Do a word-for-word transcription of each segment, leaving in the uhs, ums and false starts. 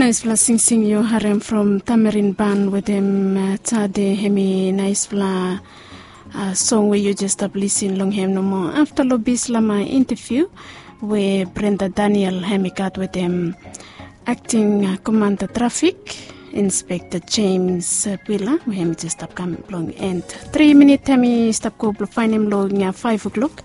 Naispela singsing yu harem from Tamarin Ban wetem Tade, hemi naispela song we yu jes stap lisin long hem nomo. Afta long bislama interview we Brenda Daniel hemi gat wetem akting komanda trafik, Inspekta James Pila, we hemi jes stap kam long en. Tri minit hemi stap go blong faenem long faef o'klok.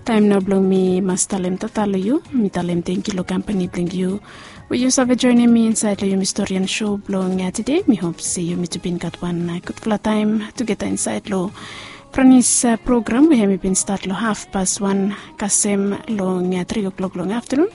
Taem nao blong mi mas talem tata long yu. Mi talem tangkiu long kampani blong yu we yu save joenem mi insaed long yumi storian sho blong tede. Mi hop se yumi tu bin gat wan gudfala taem tugeta insaed long Pranis program we hemi bin stat long hafpas wan kasem long tri o'klok long aftanun.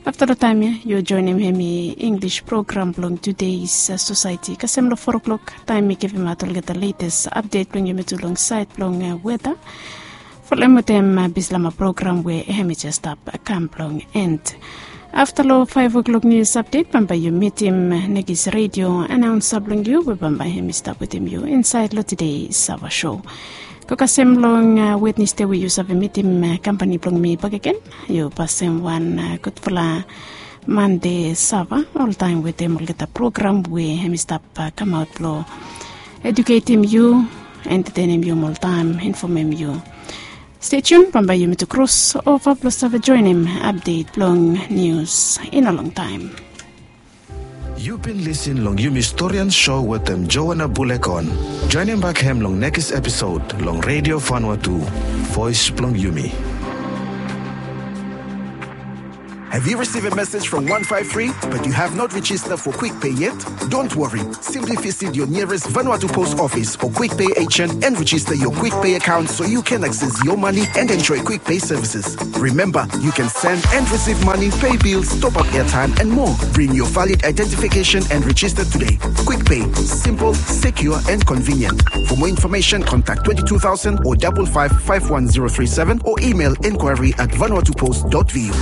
Afta long taem ya yu joenem hemi Inglis program blong Tudeis Sosaeti kasem long fo o'klok, taem mi givimaot olgeta letes apdet blong yumi tu long saed blong weta. Folem wetem bislama program we hemi jes stap kam blong en. Afta long faef o'klok nius apdet bambae yu mitim nekis redio anaonsa blong yu we bambae hemi stap wetem yu insaed long Tudeis Sava Sho. Go kasem long Wednesde we yu save mitim kampani blong mi bakegen. Yu pasem wan gudfala Mande Sava oltaem wetem olgeta program we hemi stap kamaot blong eduketem yu, entetenem yu, oltaem infomem yu. Stay tuned, bambae yumi tu kros ova blong save joenem apdet blong nius i no longtaem. Yu bin lisin long yumi storian sho wetem Joana Bulekon. Joenem bak hem long nekis episod long Redio Vanuatu, voes blong yumi. Have you received a message from one five three but you have not registered for Quick Pay yet? Don't worry. Simply visit your nearest Vanuatu Post Office or Quick Pay agent and register your Quick Pay account so you can access your money and enjoy Quick Pay services. Remember, you can send and receive money, pay bills, top up airtime, and more. Bring your valid identification and register today. Quick Pay, simple, secure, and convenient. For more information, contact twenty-two thousand or double five five one zero three seven or email inquiry at vanuatupost dot v u.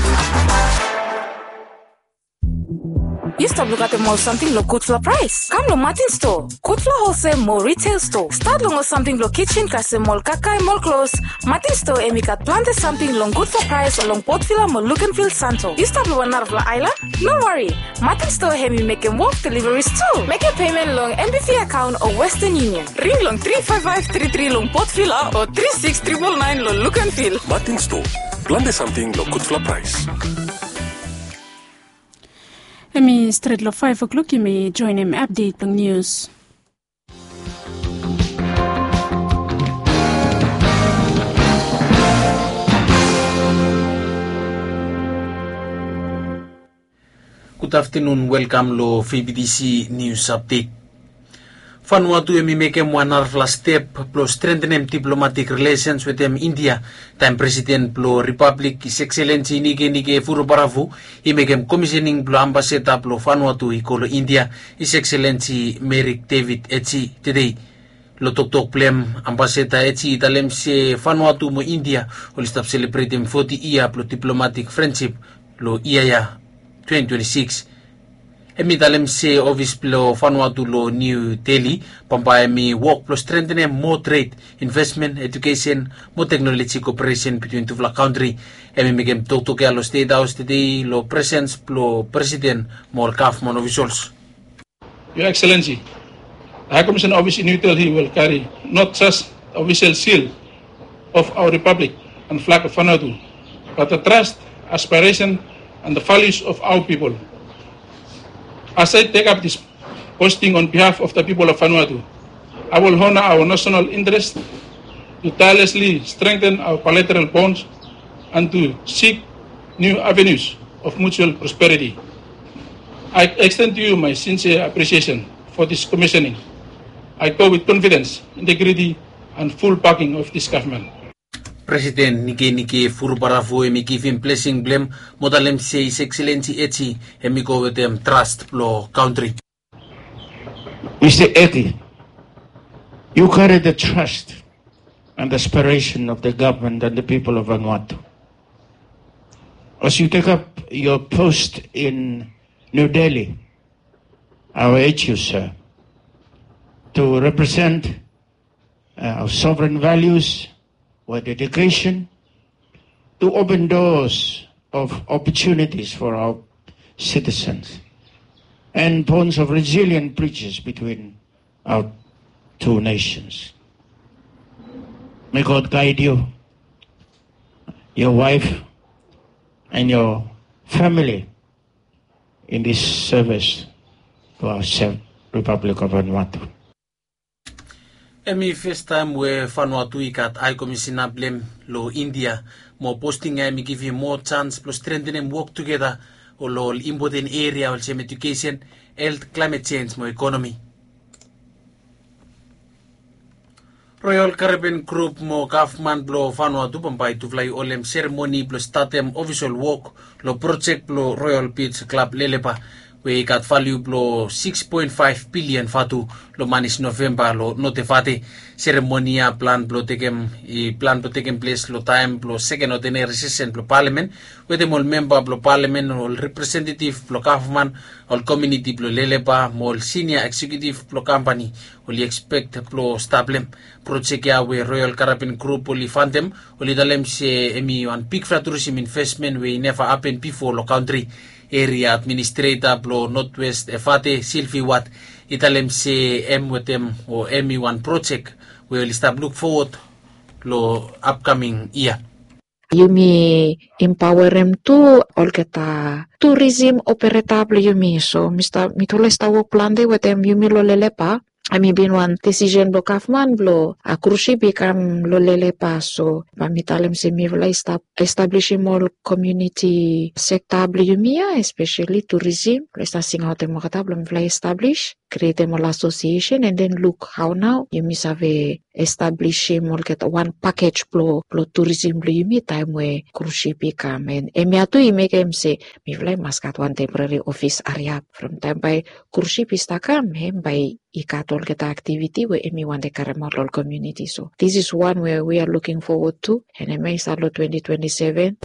Yu stap lukaotem ol samting long gudfala praes? Kam long Martin Store, gudfala holsel mo retail store. Stat long ol samting blong kitchen kasem ol kakae mo ol klos. Martin Store hemi gat plante samting long gudfala praes long Port Vila mo Luganville Santo. Yu stap long wan narafala aelan? No wari. Martin Store hemi mekem wok deliveries tu. Mekem payment long N B V account o Western Union. Ring long three five five three three long Port Vila o three six triple nine long Luganville. Martin Store, plante samting long gudfala praes. Hemi stret long faef o'klok, yumi joenem apdet blong nius. Gud aftanun, welkam long V B T C Nius Apdet. Vanuatu hemi mekem wan narafala step blong strentenem diplomatik rilesens wetem India taem Presiden blong Ripablik, His Excellency Nikenike Vurobaravu, i mekem komisening blong ambasada blong Vanuatu i go long India, His Excellency Merrick David Etsi, tede. Long toktok blong hem, ambasada Etsi i talem se Vanuatu mo India oli stap selebretem foti yia blong diplomatik frensip long yia ya, twenty twenty-six. Hemi talem se ofis blong Vanuatu long New Delhi bambae hemi wok blong strentenem moa tred, invesmen, edukesen mo teknoloji koperesen bitwin tufala kantri. Hemi mekem toktok ya long Stet Haos tede long presens blong Presiden mo ol gavman ofisols. Your Excellency, the High Commission Office in New Delhi will carry not just the official seal of our Republic and flag of Vanuatu, but the trust, aspiration, and the values of our people. As I take up this posting on behalf of the people of Vanuatu, I will honor our national interest to tirelessly strengthen our bilateral bonds and to seek new avenues of mutual prosperity. I extend to you my sincere appreciation for this commissioning. I go with confidence, integrity, and full backing of this government. Presiden Nikenike Vurobaravu hemi givim blesing blong hem mo talem se His Excellency Etsi hemi go wetem tras blong kantri. Mister Etsi, you carry the trust and aspiration of the government and the people of Vanuatu. As you take up your post in New Delhi, I will urge you, sir, to represent uh, our sovereign values with dedication to open doors of opportunities for our citizens. and bonds of resilient bridges between our two nations. May God guide you, your wife, and your family in this service to our Republic of Vanuatu. Hem i festaem we Vanuatu i gat hae komisena blong hem long India. Mo posting ya hem i givim moa janis blong strentenem wok tugeta long ol impoten eria olsem ejukesen, helt, klaemet jenj mo ekonomi. Royal Caribbean Group mo gavman blong Vanuatu bambae tufala i holem seremoni blong statem ofisol wok long projek blong Royal Beach Club Lelepa, we i gat valiu blong sikis poen faef bilian vatu long manis Novemba long Notevate. Seremoni ya plan blong tekem i plan blong tekem ples long taem blong seken odeneri sesen blong palamen, wetem ol memba blong palamen, ol representetif blong gavman, ol komiuniti blong Lelepa mo ol sinia eksekiutif blong kampani oli ekspek blong staplem. Projek ya we Royal Caribbean Group oli fantem, oli talem se hem i wan bigfala turisem invesmen we i neva hapen bifo long kantri. Eria administreta blong Notwest Evate, Silvi Wat, i talem se hem wetem o hem i wan projek we oli stap luk fowod long apkaming yia. Yumi empaoarem tu olgeta turisem opereta blong yumi. So mi stap, mitufala i stap wok plante wetem yumi long Lelepa. Hem i bin wan desisen blong gavman blong krusip i kam long Lelepa. So bae mi talem se mifala i stap establisim ol komiuniti sekta blong yumi ya, espeseli turisem, blong i stap singaotem olgeta blong mifala i establis, krietem ol asosiesen, and then luk hao nao yumi save establisim olgeta wan pakej blong turisem blong yumi taem we krusip i kam. And hemia tu i mekem se mifala i mas gat wan temporari ofis hariap from taem bae krusip i stap kam, hem bae i gat olgeta aktiviti we hem i wantem karemaot long ol komiuniti. So this is one we we are looking forward to, and hemia i stat long twenti twenti seven.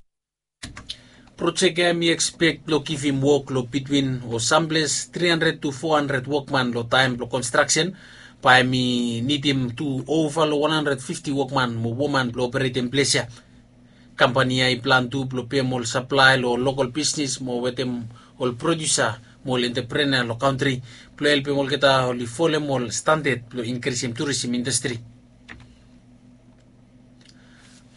Projek ya hem i ekspek blong givim wok long bitwin o samples tri handred tu fo handred wokman long taem blong konstraksen. Bae hem i nidim tu ova long wan handred fifti wokman mo woman blong operetem ples ya. Kampani ya i plan tu blong pem ol saplae long lokol bisnis mo wetem ol prodiusa mo ol entreprenea long kantri blong helpem olgeta oli folem ol standad blong inkrisim turisem indastri.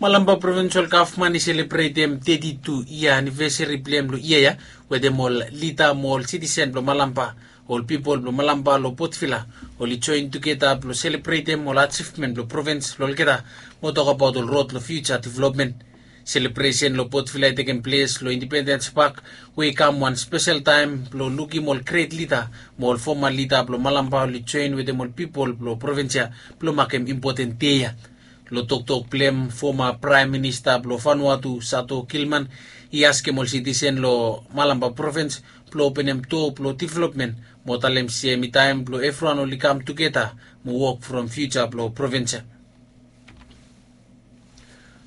Malampa Provinsol Gavman i selebretem teti tu yia anivesari blong hem long yia ya, wetem ol lida mo ol sitisen blong Malampa, ol pipol blong Malampa long Potvila oli joen tugeta blong selebretem ol ajivmen blong provins long olgeta mo tokbaot ol rod long fiuja developmen. Selebresen long Potvila i tekem ples long Independens Pak, we i kam wan spesel taem blong lukim ol gret lida mo ol foma lida blong Malampa oli joen wetem ol pipol blong provins ya blong makem impoten dei ya. Long toktok blong hem, foma Praem Minista blong Vanuatu, Sato Gilman, i askem ol sitisen long Malampa provins blong openem doa blong developmen mo talem se hem i taem blong evriwan oli kam tugeta mo wok from fiuja blong provins ya.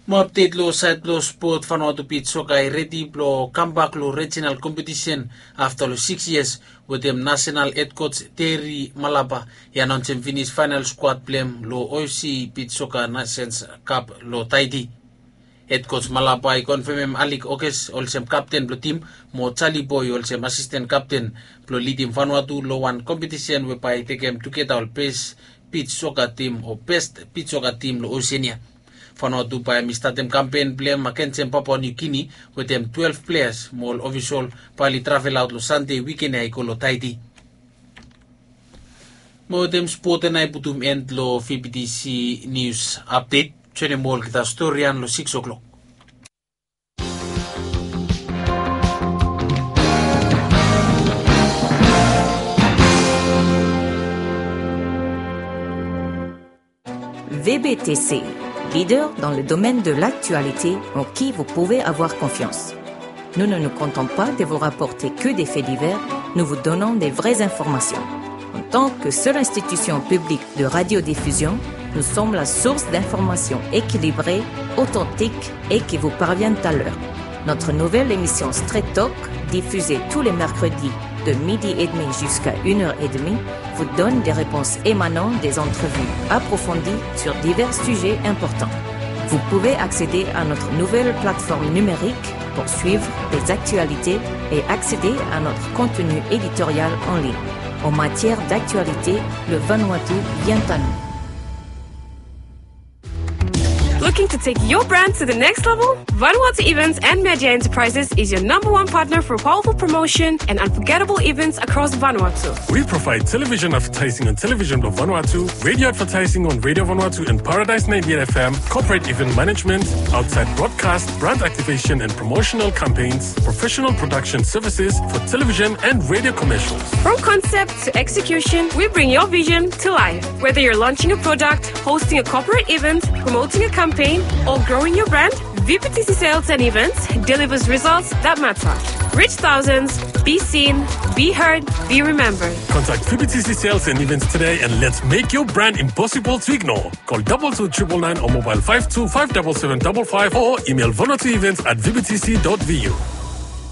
Mo apdet long saed blong spot, Vanuatu Beach Soccer i redi blong kambak long rijinal kompetisen afta long sikis yias, wetem nasenal hed koj Terry Malapa i anaonsem finis faenal skuad blong hem long O F C Beach Soccer Nations Cup long Tahiti. Hed koj Malapa i konfemem Alec Hawkes olsem kapten blong tim mo Charlie Boy olsem asisten kapten blong lidim Vanuatu long wan kompetisen we bae i tekem tugeta ol bes beach soccer tim o best beach soccer tim long Oseania. Vanuatu bae hem i statem kampen blong hem agensem Papua New Guinea wetem twelef pleas mo ol ofisol bae oli travelaot long Sande wiken ya i go long Tahiti. Mo wetem spot ya nao i putum en long V B T C News Update. Joenem olgeta storian long sikis o'clock. V B T C, leader dans le domaine de l'actualité en qui vous pouvez avoir confiance. Nous ne nous contentons pas de vous rapporter que des faits divers, nous vous donnons des vraies informations. En tant que seule institution publique de radiodiffusion, nous sommes la source d'informations équilibrées, authentiques et qui vous parviennent à l'heure. Notre nouvelle émission Straight Talk, diffusée tous les mercredis de midi et demi jusqu'à une heure et demie, vous donne des réponses émanant des entrevues approfondies sur divers sujets importants. Vous pouvez accéder à notre nouvelle plateforme numérique Pour suivre les actualités et accéder à notre contenu éditorial en ligne. En matière d'actualité, le Vanuatu vient à nous. Looking to take your brand to the next level? Vanuatu Events and Media Enterprises is your number one partner for powerful promotion and unforgettable events across Vanuatu. We provide television advertising on Television Blue Vanuatu, radio advertising on Radio Vanuatu and Paradise ninety-eight F M, corporate event management, outside broadcast, brand activation and promotional campaigns, professional production services for television and radio commercials. From concept to execution, we bring your vision to life. Whether you're launching a product, hosting a corporate event, promoting a campaign, or growing your brand, V P T C Sales and Events delivers results that matter. Reach thousands, be seen, be heard, be remembered. Contact V P T C Sales and Events today and let's make your brand impossible to ignore. Call double two triple nine or mobile five two five double seven double five or email vanuatuevents at V P T C dot V U.